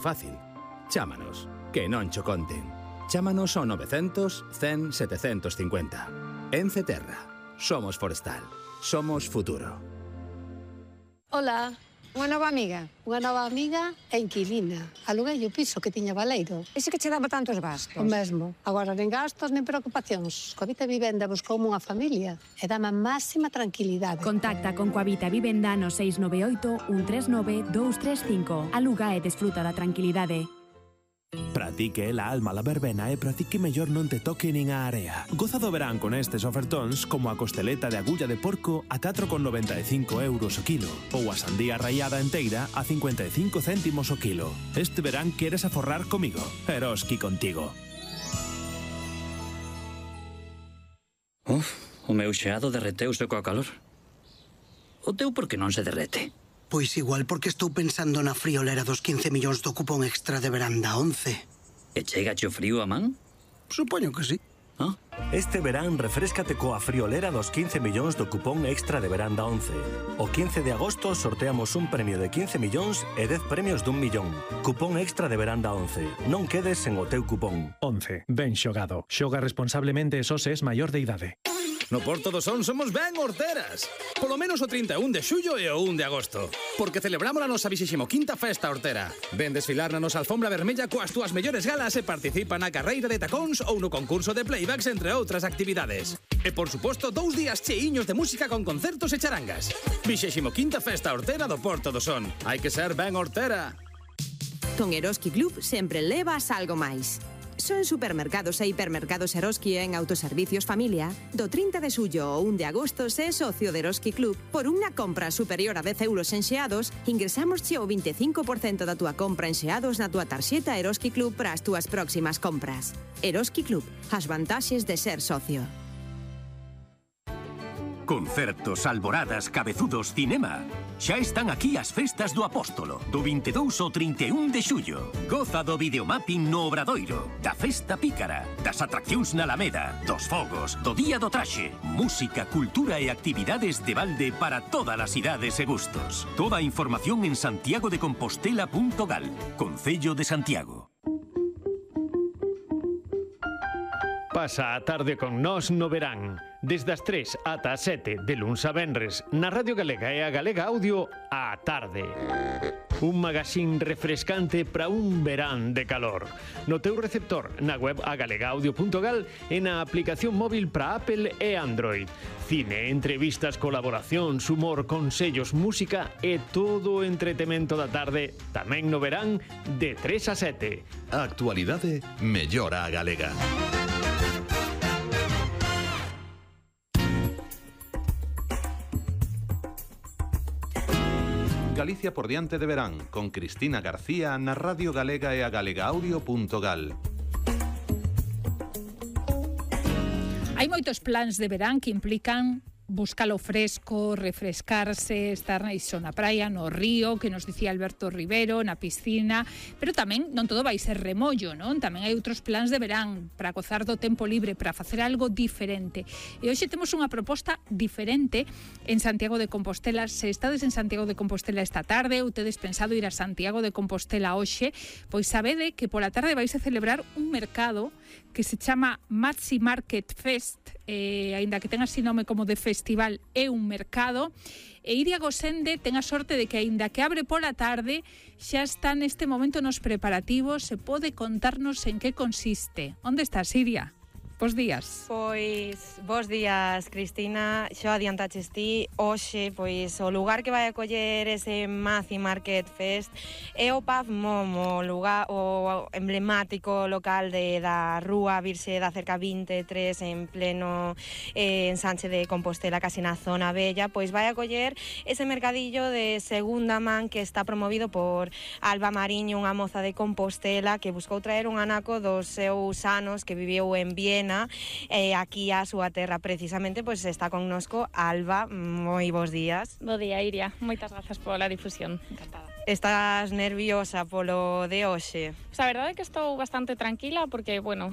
Fácil. Chámanos, que non cho conten. Chámanos ao 900 100 750. Ence Terra. Somos forestal. Somos futuro. Hola. Unha nova amiga e inquilina. Aluguei o piso que tiña baleiro. Ese que che daba tantos gastos? O mesmo. Agora nen gastos nen preocupacións. Coavita Vivenda buscoume unha familia e dame a máxima tranquilidade. Contacta con Coavita Vivenda no 698 139 235. Aluga e desfruta da tranquilidade. Para ti que é la alma la verbena e para ti que mellor non te toque nin a area. Goza do verán con estes ofertóns como a costeleta de agulla de porco a 4,95 euros o kilo ou a sandía raiada enteira a 55 céntimos o kilo. Este verán queres aforrar comigo. Eroski contigo. O meu xeado derreteuse coa calor. O teu por que non se derrete? Pois igual porque estou pensando na friolera dos 15 millóns do cupón extra de veranda 11. E chegache o frío a man? Supoño que sí. Este verán refréscate coa friolera dos 15 millóns do cupón extra de veranda 11. O 15 de agosto sorteamos un premio de 15 millóns e 10 premios dun millón. Cupón extra de veranda 11. Non quedes sen o teu cupón. 11. Ben xogado. Xoga responsablemente e só se es maior de idade. No Porto do Son somos ben horteras. Polo menos o 31 de xullo e o 1 de agosto. Porque celebramos a nosa 25ª festa hortera. Ven desfilar na nosa alfombra vermella coas túas mellores galas e participa na carreira de tacóns ou no concurso de playbacks, entre outras actividades. E, por suposto, 2 días cheiños de música con concertos e charangas. 25ª festa hortera do Porto do Son. Hai que ser ben hortera. Con Eroski Club sempre levas algo máis. Só en supermercados e hipermercados Eroski e en autoservicios familia, do 30 de xullo ao 1 de agosto se é socio de Eroski Club, por unha compra superior a 10 euros en xeados, ingresámosche o 25% da túa compra en xeados na túa tarxeta Eroski Club para as túas próximas compras. Eroski Club, as vantaxes de ser socio. Concertos, alboradas, cabezudos, cinema. Xa están aquí as festas do Apóstolo, do 22 ao 31 de xullo. Goza do videomapping no Obradoiro, da festa pícara, das atraccións na Alameda, dos fogos, do Día do Traxe, música, cultura e actividades de balde para todas as idades e gustos. Toda a información en santiagodecompostela.gal, Concello de Santiago. Pasa a tarde con nós no verán. Desde as 3 ata as 7 de luns a venres na Radio Galega e a Galega Audio á tarde. Un magazín refrescante para un verán de calor. No teu receptor, na web agalegaudio.gal e na aplicación móvil para Apple e Android. Cine, entrevistas, colaboracións, humor, consellos, música e todo o entretemento da tarde tamén no verán de 3 a 7. A actualidade mellora a galega. Galicia por diante de verán, con Cristina García na Radio Galega e a galegaudio.gal. Hai moitos plans de verán que implican buscar o fresco, refrescarse, estar iso na praia, no río, que nos dicía Alberto Rivero, na piscina, pero tamén non todo vai ser remollo, non? Tamén hai outros plans de verán para gozar do tempo libre, para facer algo diferente. E hoxe temos unha proposta diferente en Santiago de Compostela. Se estades en Santiago de Compostela esta tarde ou tedes pensado ir a Santiago de Compostela hoxe, pois sabede que pola tarde vais a celebrar un mercado que se chama Maxi Market Fest, aínda que ten así nome como de festival, é un mercado, e Iria Gosende ten a sorte de que aínda que abre pola tarde, xa está neste momento nos preparativos, se pode contarnos en que consiste. Onde estás, Iria? Bos días. Pois, bos días, Cristina. Xa adiantaches ti, hoxe, pois, o lugar que vai acoller ese Maxi Market Fest é o Pub Momo, o emblemático local da Rúa Virxe da Cerca 23, en pleno ensanche de Compostela, casi na zona bella. Pois vai acoller ese mercadillo de segunda man que está promovido por Alba Mariño, unha moza de Compostela que buscou traer un anaco dos seus anos que viviu en Viena, aquí a súa terra. Precisamente, pois está connosco Alba. Moi bons días. Bo día, Iria. Moitas grazas pola difusión. Encantada. Estás nerviosa polo de hoxe? A verdade é que estou bastante tranquila porque, bueno,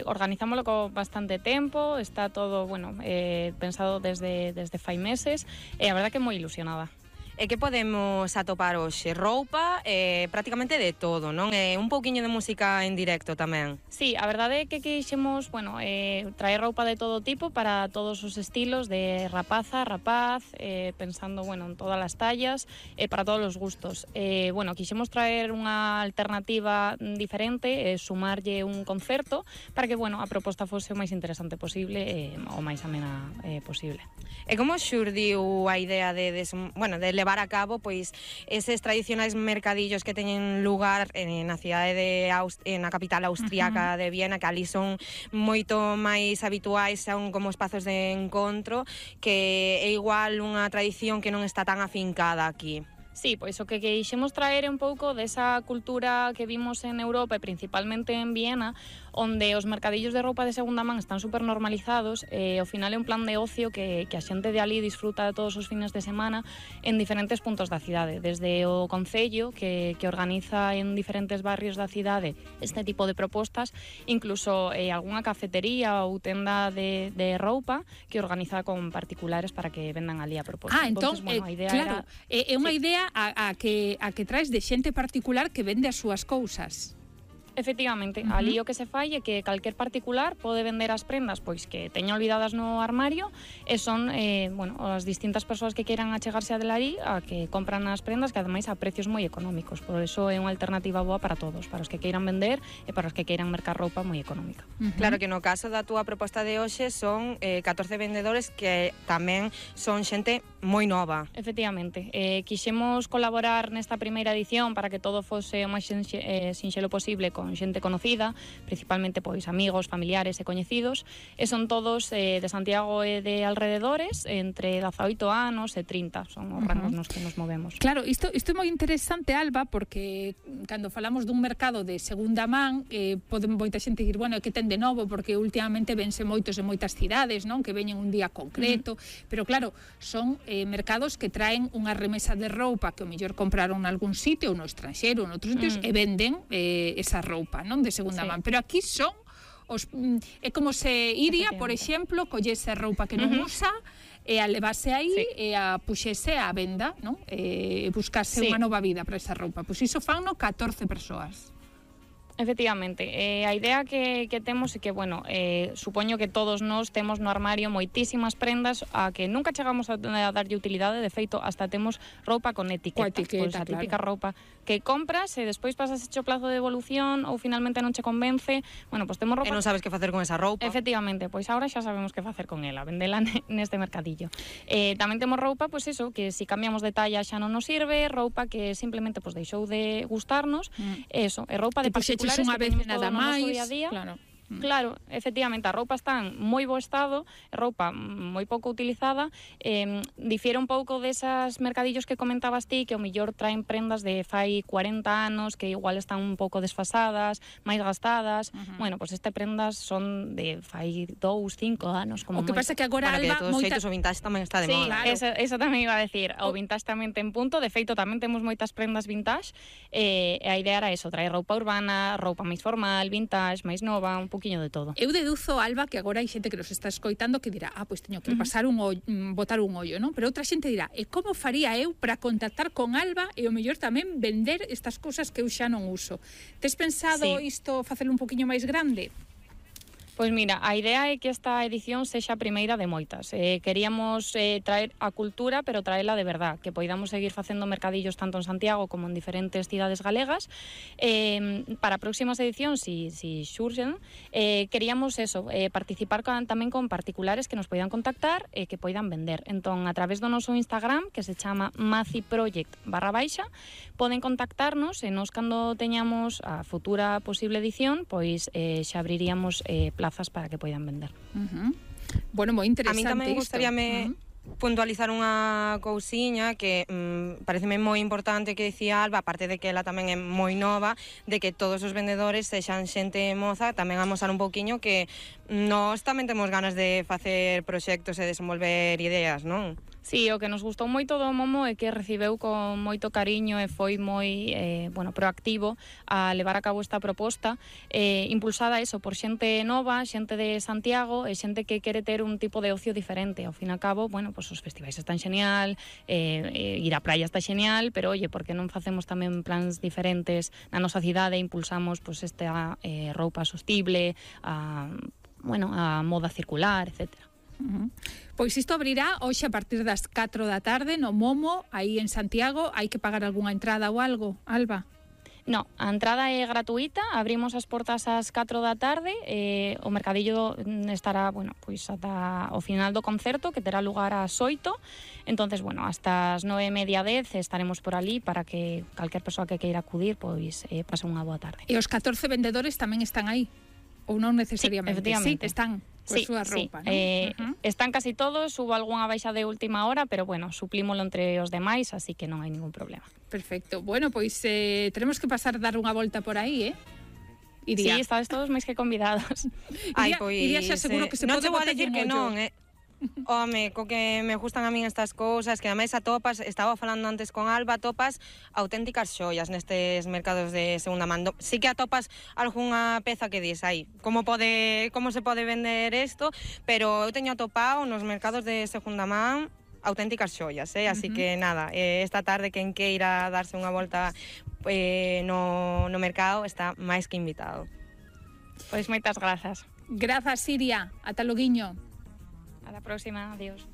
organizámoslo con bastante tempo, está todo, bueno, pensado desde fai meses e a verdade que moi ilusionada. E que podemos atopar hoxe? Roupa, prácticamente de todo, non? E un pouquiño de música en directo tamén. Sí, a verdade é que quixemos, traer roupa de todo tipo para todos os estilos, de rapaza, rapaz, pensando, en todas as tallas, para todos os gustos. Quixemos traer unha alternativa diferente, sumarlle un concerto, para que, a proposta fose o máis interesante posible, o máis amena posible. E como xurdiu a idea de levar a cabo pois eses tradicionais mercadillos que teñen lugar na cidade na capital austríaca de Viena, que ali son moito máis habituais, son como espazos de encontro, que é igual unha tradición que non está tan afincada aquí. Sí, pois o que quixemos traer é un pouco desa cultura que vimos en Europa e principalmente en Viena, onde os mercadillos de roupa de segunda man están super normalizados e ao final é un plan de ocio que a xente de ali disfruta de todos os fines de semana en diferentes puntos da cidade, desde o Concello que organiza en diferentes barrios da cidade este tipo de propostas, incluso algunha cafetería ou tenda de roupa que organiza con particulares para que vendan ali a proposta. Entón, a idea claro, é unha sí. idea a que traes de xente particular que vende as súas cousas. Efectivamente, ali o que se fai é que calquer particular pode vender as prendas pois que teña olvidadas no armario e son, as distintas persoas que queiran achegarse a delarí a que compran as prendas que ademais a precios moi económicos, por eso é unha alternativa boa para todos, para os que queiran vender e para os que queiran mercar roupa moi económica. Claro que no caso da túa proposta de hoxe son 14 vendedores que tamén son xente moi nova. Efectivamente, quixemos colaborar nesta primeira edición para que todo fose o máis sinxelo posible con xente conocida, principalmente pois amigos, familiares e coñecidos, e son todos de Santiago e de alrededores, entre 18 anos e 30, son os rangos nos que nos movemos. Claro, isto é moi interesante, Alba, porque cando falamos dun mercado de segunda man, pode moita xente dicir, que ten de novo, porque últimamente vense moitos en moitas cidades, non? Que veñen un día concreto, pero claro, son mercados que traen unha remesa de roupa que o mellor compraron en algún sitio, ou no estranxeiro, ou en outros sitios, e venden esa roupa, non, de segunda man, pero aquí son é como se iría, por exemplo, collese roupa que non usa e a levase aí e a puxese á venda, non? E buscase unha nova vida para esa roupa. Pois iso fanno 14 persoas. Efectivamente, a idea que temos é que, supoño que todos nós temos no armario moitísimas prendas a que nunca chegamos a darlle utilidade, de feito, hasta temos roupa con etiqueta, pois a típica roupa que compras e despois pasas hecho plazo de devolución ou finalmente non che convence, pois temos roupa... E non sabes que facer con esa roupa. Efectivamente, pois agora xa sabemos que facer con ela, vendela neste mercadillo. Tamén temos roupa, pois eso, que se cambiamos de talla xa non nos sirve, roupa que simplemente deixou de gustarnos, eso, é roupa de particulares unha vez nada máis, día a día. Claro, efectivamente, a roupa está en moi bo estado, roupa moi pouco utilizada, difiere un pouco desas mercadillos que comentabas ti, que ao mellor traen prendas de fai 40 anos, que igual están un pouco desfasadas, máis gastadas. Pois este prendas son de fai 2, 5 anos. O que pasa que agora, Alba, que de todos xeitos o vintage tamén está de moda. Eso tamén iba a decir, o vintage tamén ten punto, de feito tamén temos moitas prendas vintage, e a idea era eso, traer roupa urbana, roupa máis formal, vintage, máis nova, un pouquiño de todo. Eu deduzo, Alba, que agora hai xente que nos está escoitando que dirá, pois teño que pasar botar un ollo, non? Pero outra xente dirá, como faría eu para contactar con Alba e o mellor tamén vender estas cousas que eu xa non uso? Tes pensado isto facelo un poquinho máis grande? Pois mira, a idea é que esta edición sexa a primeira de moitas. Queríamos traer a cultura, pero traela de verdad, que poidamos seguir facendo mercadillos tanto en Santiago como en diferentes cidades galegas. Para próximas edicións, si xurxen, queríamos eso, participar tamén con particulares que nos poidan contactar e que poidan vender. Entón, a través do noso Instagram, que se chama maciproject_, poden contactarnos e nos, cando teñamos a futura posible edición, pois xa abriríamos plazas para que poidan vender. Moi interesante. A mí tamén gustaríame puntualizar unha cousiña que pareceme moi importante que dicía Alba, aparte de que ela tamén é moi nova, de que todos os vendedores sexan xente moza, tamén amosar un pouquiño que nós tamén temos ganas de facer proxectos e desenvolver ideas, non? Sí, o que nos gustou moito do Momo é que recibeu con moito cariño e foi moi proactivo a levar a cabo esta proposta, impulsada eso por xente nova, xente de Santiago e xente que quere ter un tipo de ocio diferente. Ao fin e ao cabo, bueno, pues os festivais están xenial, ir á praia está xenial, pero oye, por que non facemos tamén plans diferentes na nosa cidade e impulsamos pues esta roupa sostible, a moda circular, etcétera. Pois isto abrirá hoxe a partir das 4 da tarde no Momo, aí en Santiago. Hai que pagar algunha entrada ou algo, Alba? No, a entrada é gratuita, abrimos as portas ás 4 da tarde, o mercadillo estará, bueno, pois ata o final do concerto, que terá lugar ás 8, entonces, bueno, hasta as 9:30, 10 estaremos por ali para que calquer persoa que queira acudir, pois pase unha boa tarde. E os 14 vendedores tamén están aí? Ou non necesariamente? Sí, efectivamente. Sí, están coa súa roupa, non? Están casi todos, hubo algunha baixa de última hora, pero bueno, suplímolo entre os demais, así que non hai ningún problema. Perfecto. Bueno, pois tenemos que pasar a dar unha volta por aí, Iria. Sí, estades todos máis que convidados. Ai, pois, Iria xa seguro que se non pode te vou botar dicir un que ollo. non, Home, co que me gustan a min estas cousas, que ademais atopas, estaba falando antes con Alba, atopas auténticas xoias nestes mercados de segunda man. Sí que atopas algunha peza que dis, como se pode vender isto, pero eu teño atopado nos mercados de segunda man auténticas xoias, así que nada, esta tarde quen queira darse unha volta no mercado está máis que invitado. Pois moitas grazas. Grazas, Iria. Ata loguiño. A la próxima, adiós.